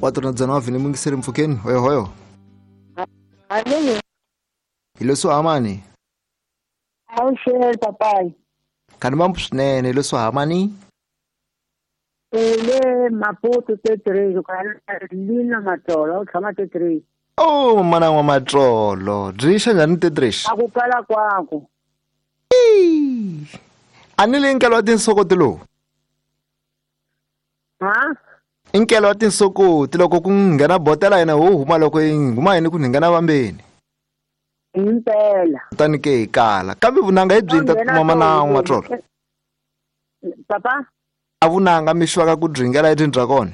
Wa tona dzana wa vhini mungiseri mpfhukeni hoyohoyo. Alini Hi leswo hamani. Awuxele papayi. Khani mampu swinene hi leswo hamani. Le Maputo T3 lina Matsolo u tshama T3. Oh mana wa Matsolo. Byi xa njhani T3? A ku kala kwaku. A ni le nkelo wa tinsokoti lowu. Ha? I nkelo wa tinsokoti loko ku nghena botela yena wo huma loko yi huma yini ku nghena vambeni. Impela. Kutani ke hi kala. Kambe vunanga hi byi ta kuma mana wa Matsolo. Papa? A vunanga mi xwaka ku dringela etini bya kona.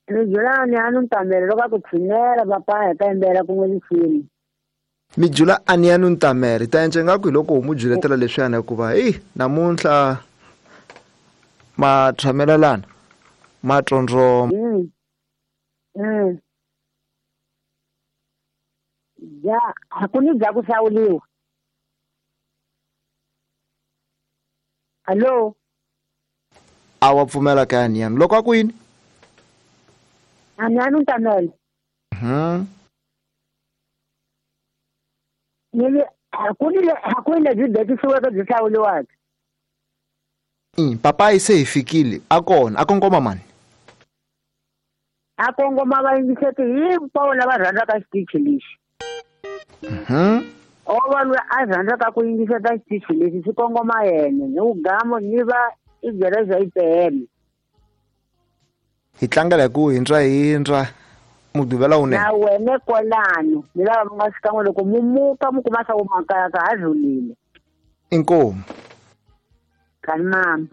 Ni julani a ni ntamele loko a ku tshinela papa hi ta yimbela kun'we risimu. Mi jula a ni ya ni ntamele ta endla ingaku hi loko mu juletela leswiyana hikuva heyi namuntlha ma tshamelelana ma tsondzoma. Ya a ku ni bya ku hlawuliwa. Hallo? A wa pfumela ka yani yani loko a ku yini? A ni ya ni ntamele. Ni a ku ni a ku lebyi bekisiweke byi hlawuliwaka. Papayi se hi fikile a kona a kongoma mani? A kongoma vayingiseti hinkwavo lava rhandzaka xitichi lexi. O va loyi a rhandzaka ku yingiseta xitichi lexi xi kongoma yena ni ugamo ni va i byela IPM. Hi tlangela hi ku hindra hindra mugqivela wunene. Na wena kwalano ni lava mi nga xikan'we loko mu muka mu kuma swa ku makaya ka ha rhulile. Inkomu. Kani mama.